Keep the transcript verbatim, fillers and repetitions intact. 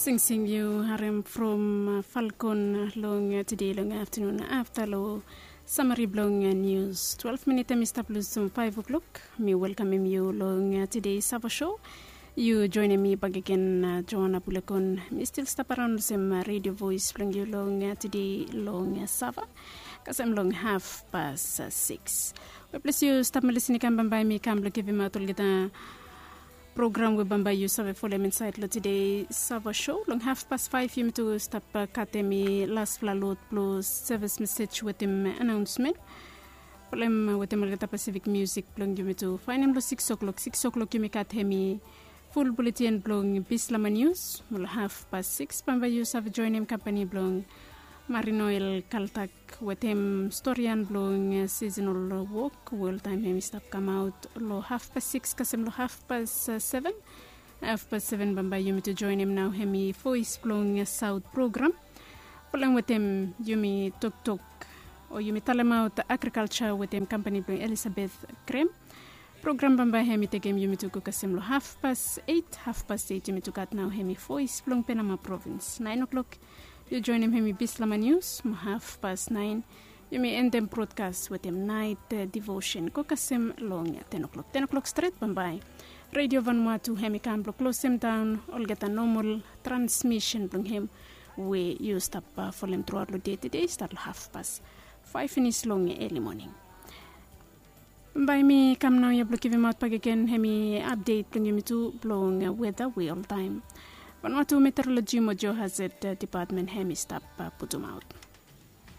Singsing yu harem from Falcon long tede long aftanun afta long samari blong nius. Twelve minit em i stap lusim faiv o'klok. Mi welkamem yu long tede sava sho. Yu joinim mi bakegen, Joana Bulekon. Mi stil stap araun olsem redio vois blong yu long tede long sava kasem long haf pas siks. We ples yu stap melis i kam bambae mi kam blong givimaot olgeta program we bambae yu save folem insaed long tede sava sho. Long haf pas faef yumi tu stap katem i laspela lot blong sevis mesej wetem anaonsmen. Folem wetem olgeta pasifik musik blong yumi tu faenem long siks o'klok. Siks o'klok yumi katem i ful buletin blong bislama nius. Mo long haf pas siks bambae yu save joinim kampani blong marinoel kaltak wetem storian blong sisenol wok we oltaem hem i stap kamaot long haf pas siks kasem long haf pas seven. Haf pas seven bambae yumi tu joinim nao hem i voes blong saot program. Folem wetem yumi toktok o yumi talemaot agrikalsa wetem kampani blong elisabeth grem. Program bambae hem i tekem yumi tu go kasem long haf pas eit. Haf pas eit yumi tu gat nao hem i voes blong penama provins. Naen o'klok yu joinim hem i bislama nius mo haf pas naen yumi endem brodkas wetem naet divosen go kasem long ten o'klok. Ten o'klok stret bambae redio vanua tu hem i kam blong klosem daon olgeta nomol transmisen blong hem we yu stap folem truaot long de tede i stat long haf pas faef finis long eli moning. Bae mi kam nao ya blong givimaot bakegen hem i apdet blong yumi tu blong weta we oltaem vanua tu meteoroloji mo jeo hazet depatmen hem i stap putumaot.